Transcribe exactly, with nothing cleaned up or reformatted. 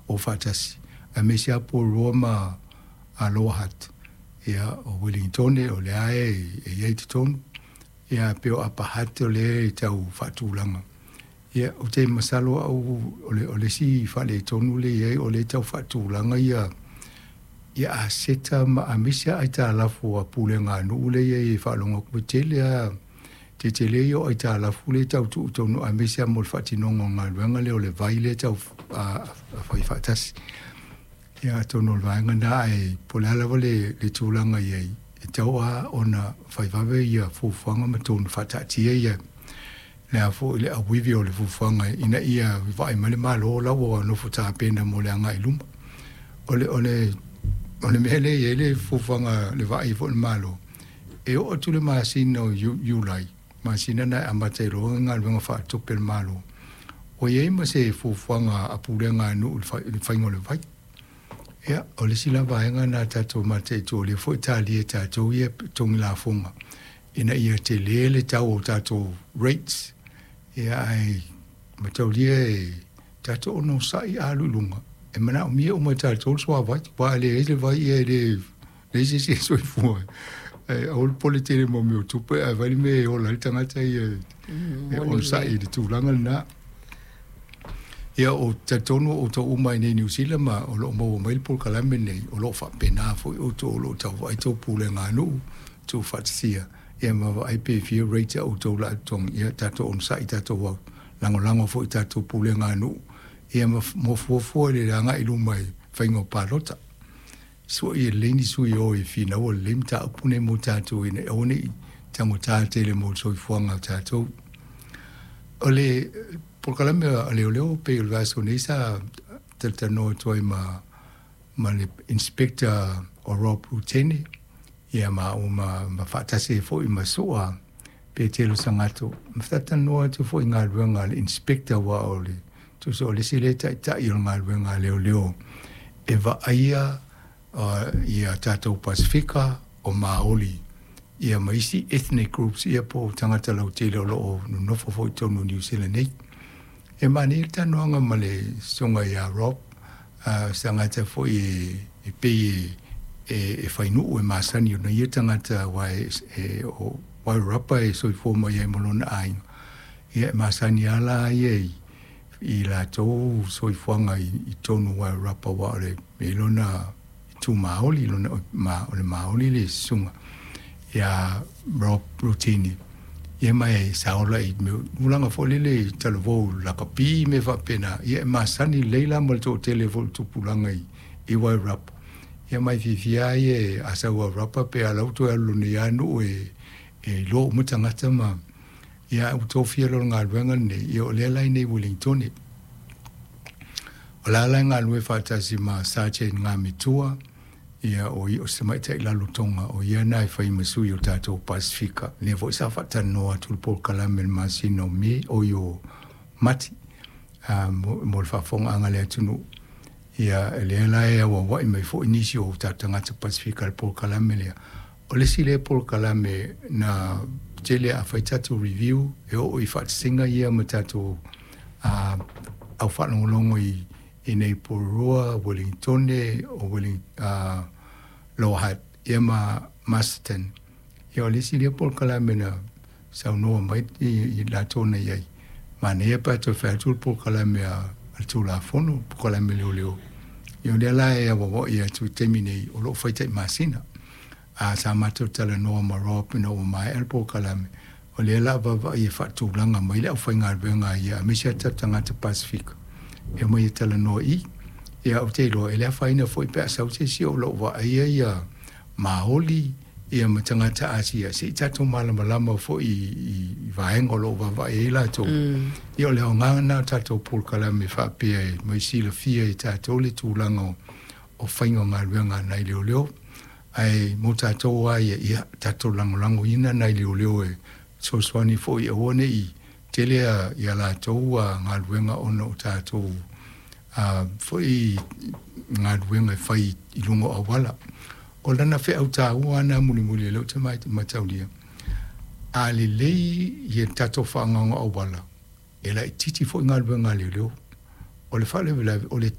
o faatasi aemaise a Porirua ma a Lower Hutt. Ia o Wellingtone o lea e e i ai totonu, ia pei o Upper Hutt o lea e tau faatulaga. Ia ou te masalo au o le o le isi faaletonu lea e i ai o lea e tau faatulaga ia ia aseta ma aemaise aitalafu a pulega a nuu lea e i ai e faalogo atu e tele lava tetele ia o aitalafu lea e tau tuu i totonu aemaise lava mo le faatinoga o galuega lea o le vai lea e tau fai faatasi. Ia atonu o le vaega lena ae po o le a lava le, le tulaga i ai, e tatau lava ona fai vave ia fuafuaga ma tonu faataatia ia le a foi le auivi o le fuafuaga ina ia vaai mai le Malo la ua nofo tapena mo le agai i luma. O le, o le, o le mea lea e i ai le fuafuaga le vaai foi a le Malo, e oo atu le masina o Iulai, masina na e amata ai loa galuega faatupe a le Malo, ua i ai ma se fuafuaga a pulega a nuu i le faiga o le vai. Ia, o le isi la vaega lena tatou mataitu o lea foi e talia e tatou ia totogi lafoga ina ia tele le tau o tatou rates. Ia ae mataulia e tatou onosai a alu i luga, e manaomia uma e tatou le suavai, aua a leai le vai ia e le leai se isi e soifua ai. Aua le popole tele mo mea o tupe ae fai le mea e ola ai le tagata ia e onosai i le tulaga lena. Ia o talitonu o outou uma i nei Niu Sila ma o lo o maua mai le polokalame lenei, o lo o faapena foi outou o lo o tau vaai tou pulega a nuu, tuufaatasia, ia ma vaai pe fia rate a outou la totogi, ia tatou onosai tatou au lagolago foi i tatou pulega a nuu, ia ma mo fuafua i le agai i luma i faiga o palota. Sua ia lelei ni sui o e finaua lelei mataupu nei mo tatou ina ia aua ne i tagota tele mo le soifuaga o tatou. O le polokalame a leoleo pei o le vaiaso nei sa talatalanoa atu ai ma ma le Inspector o Rob Rutene ia ma au ma, ma faatasi ai foi ma Sua Petelo Sagato ma talatalanoa atu foi i galuega a le Inspector aua o le tusa o le isi lea taitai o le galuega a leoleo e vaaia uh, ia tatou Pasifika o Maoli ia ma isi ethnic groups ia po o tagata lautele o lo o nonofo foi i totonu o Niu Sila nei. E manaia le talanoaga ma le susuga ia Rob, uh, se tagata foi e, e pei e, e, e fainuu e masani ona ia tagata aua e, e o Wairarapa e soifua mai ai ma lona aiga. Ia e masani lava la ia i, i latou soifuaga i, i totonu o Wairarapa aua o le e lona itu Maoli, lona ma, o le Maoli le susuga ia Rob Rutini. Ia ma e sa ola i mea tulaga foi lele i talavou lakapi me faapena, ia e masani lelei la ma le toatele foi o le tupulaga i, i Wairarapa. Ia ma e fiafia ai e a sau Wairarapa pe a lau toe alu lona ia nuu e, e iloa uma tagata ma ia ua tofia loa le galuega lenei, ia o lea la i nei Wellingtone. O la la e galulue faatasi ma Sergeant Ngamitua, ia o ia o se tamaitai lalotoga o ia na e fai ma sui o tatou Pasifika. Lea foi sa faatalanoa atu le polokalame i le masina o Me, oi o Mati, uh, mo, mo le faafofogaaga a le atunuu. Ia lea la e auauai mai foi nisi o tatou tagata Pasifika i le polokalame lea. O le isi lea polokalame na tele a fai tatou review e oo i faatasiga ia ma tatou uh, au faalogologo i i nei Porirua, Wellingtone, o Welling, uh, Lower Hutt, ia ma Masterton. Ia o le isi lea polokalame na saunoa mai i, i latou na i ai. Manaia pe a toe fai atu le polokalame a, a le Tulafono, polokalame leoleo. Ia o lea la e auauai atu i taimi nei o lo o fai tai masina. A sa matou talanoa ma Rob ina ua maea le polokalame, o lea la vaavaai e faatulaga mai le aufaigaluega ia aemaise a tatou tagata Pasifika e omai e talanoa i. Ia ou te iloa e le afaina foi pe a sau se isi o lo o vaaia ia Maoli ia ma tagata Asia se i tatou malamalama foi i, i, i vaega o lo o vaavaai ai latou. Mm. Ia o le aoga lena o tatou polokalame faapea e mai silafia e tatou le tulaga o, o faiga o galuega a nai leoleo. Ae mo tatou lava ia, ia tatou lagolagoina nai leoleo e fesoasoani foi aua ne i tele ia latou galuega ona o tatou foi galuega e fai i luga o auala. O lana feau taua lena mulimuli o lea ou te mataulia, a lelei ia tatou faaaogaina o auala, e laitiiti foi galuega a leoleo. O le faalavelave o le